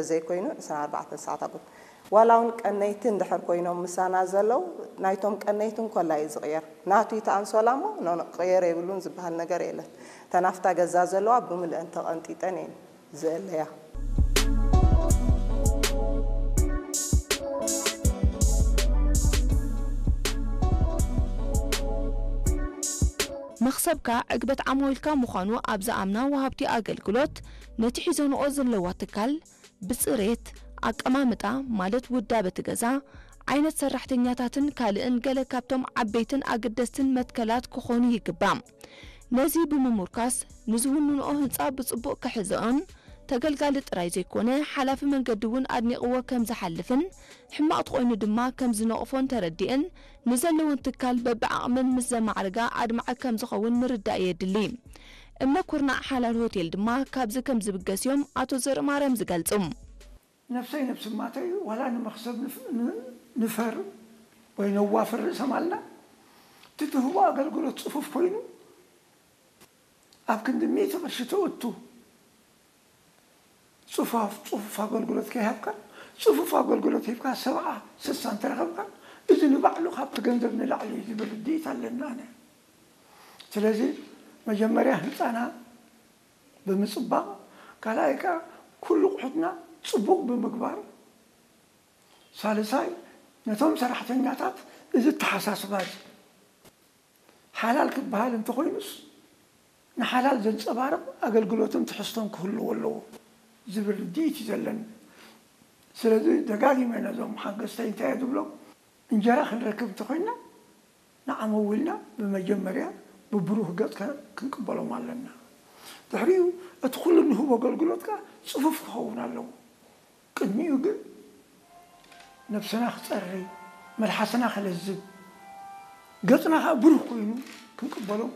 ዘይኮይኑ ዕስራን ኣርባዕተን ሰዓት ኣጎት ዋላ እውን ቀነይቲ እንድሕር ኮይኖም ምሳና ዘለዉ ናይቶም ቀነይቲ እንኮላ እዩ ዝቕየር። ናቱ እቲ ኣንሶላ እሞ ኖ ቅየር የብሉን ዝበሃል ነገር የለን። ተናፍታ ገዛ ዘለዋ ብምልአን ተቐንጢጠን እየን ዝእለያ። መኽሰብካ ዕግበት ዓማዊልካ ምዃኑ ኣብ ዝኣምና ወሃብቲ ኣገልግሎት፣ ነቲ ሒዞንኦ ዘለዋ ትካል ብጽሬት፣ ኣቀማምጣ ማለት ውዳበ እቲ ገዛ፣ ዓይነት ሰራሕተኛታትን ካልእን ገለ ካብቶም ዓበይትን ኣገደስትን መትከላት ክኾኑ ይግባእ። ነዚ ብምሙርካስ ንዝውንንኦ ህንጻ ብጽቡቕ ክሕዝኦን ተገልጋሊ ጥራይ ዘይኮነ ሓላፊ መንገዲ እውን ኣድኒቕዎ ከም ዝሓልፍን ሕማቕ ተኾይኑ ድማ ከም ዝነቕፎን ተረዲእን ንዘለወን ትካል በብዓቕመን ምስ ዘማዕርጋ ኣድማዒ ከም ዝኸውን ምርዳእ የድሊ። እምነ ኩርናዕ ሓላል ሆቴል ድማ ካብዚ ከም ዝብገስ እዮም ኣቶ ዘርእማርያም ዝገልጹ። ነፍሰይ ነብሲ ማተይ ዋላ ንመኽሰብ ንፈር ወይ ነዋፍር ርእሰ ማልና እቲ ትህቦ ኣገልግሎት ጽፉፍ ኮይኑ ኣብ ክንዲ ሚእቲ ቅርሺ ተእቱ ጽፋፍ ጽፉፍ ኣገልግሎት ከይሃብካ ጽፉፍ ኣገልግሎት ሂብካ ሰብዓ ስሳ እንተረኸብካ እዚ ንባዕሉ ካብቲ ገንዘብ ንላዕሊ እዩ ዝብል ርድኢት ኣለኒ ኣነ። ስለዚ መጀመርያ ህንፃና ብምፅባቕ ካልኣይ ከዓ ኩሉ ኣቑሑትና ፅቡቕ ብምግባር ሳልሳይ ነቶም ሰራሕተኛታት እዚ ኣተሓሳስባ እዚ ሓላል ክበሃል እንተኾይኑስ ንሓላል ዘንፀባርቕ ኣገልግሎትን ትሕዝቶን ክህልዎ ኣለዎ ዝብል ርድኢት እዩ ዘለኒ። ስለዚ ደጋጊመ ነዞም ሓገዝተይ እንታይ እየ ዝብሎም፣ እንጀራ ክንረክብ እንተኾይንና ንዓመዊልና ብመጀመርያ ብብሩህ ገፅ ክንቅበሎም ኣለና። ድሕሪኡ እቲ ኩሉ ንህቦ ኣገልግሎት ከዓ ፅፉፍ ክኸውን ኣለዎ። ቅድሚኡ ግን ነብስና ክፀሪ፣ መልሓስና ክለዝብ፣ ገፅና ከዓ ብሩህ ኮይኑ ክንቅበሎም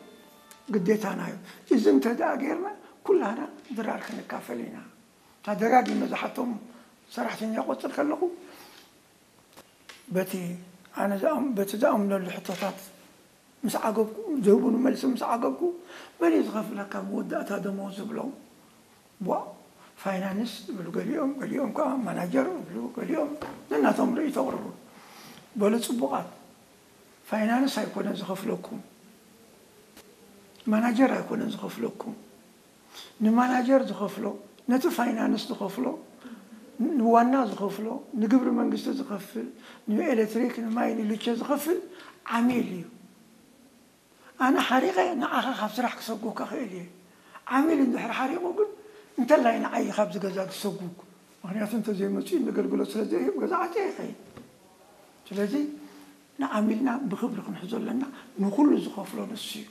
ግዴታና እዩ። እዚ እንተ ደኣ ጌርና ኩላህና ድራር ክንካፈል ኢና። እታ ደጋጊመ ዝሓቶም ሰራሕተኛ ቆፅር ከለኹ በቲ ኣነ በቲ ዝኣምነሉ ሕቶታት ምስ ዓገብኩ ዝህቡኒ መልሲ ምስ ዓገብኩ መን እዩ ዝኸፍለካ መወዳእታ ደሞዝ ዝብሎም ቧ ፋይናንስ ዝብሉ ገሊኦም ገሊኦም ከዓ ማናጀር ዝብሉ ገሊኦም ነናቶም ርእይቶ ኣቕርቡ በሉ ፅቡቓት ፋይናንስ ኣይኮነን ዝኸፍለኩም ማናጀር ኣይኮነን ዝኸፍለኩም ንማናጀር ዝኸፍሎ ነቲ ፋይናንስ ዝኸፍሎ ንዋና ዝኸፍሎ ንግብሪ መንግስቲ ዝኸፍል ንኤሌክትሪክ ንማይ ንልቸ ዝኸፍል ዓሚል እዩ ኣነ ሓሪቐ ንዓኻ ካብ ስራሕ ክሰጉካ ክእል እየ ዓሚል እንድሕር ሓሪቑ ግን እንተላይ ንዓይ ካብዚ ገዛ ዝሰጉግ ምክንያቱ እንተዘይመፅኡ ንገልግሎት ስለዘይህብ ገዛ ዓፅየ ይኸይድ ስለዚ ንዓሚልና ብክብሪ ክንሕዞ ኣለና ንኩሉ ዝኸፍሎ ንሱ እዩ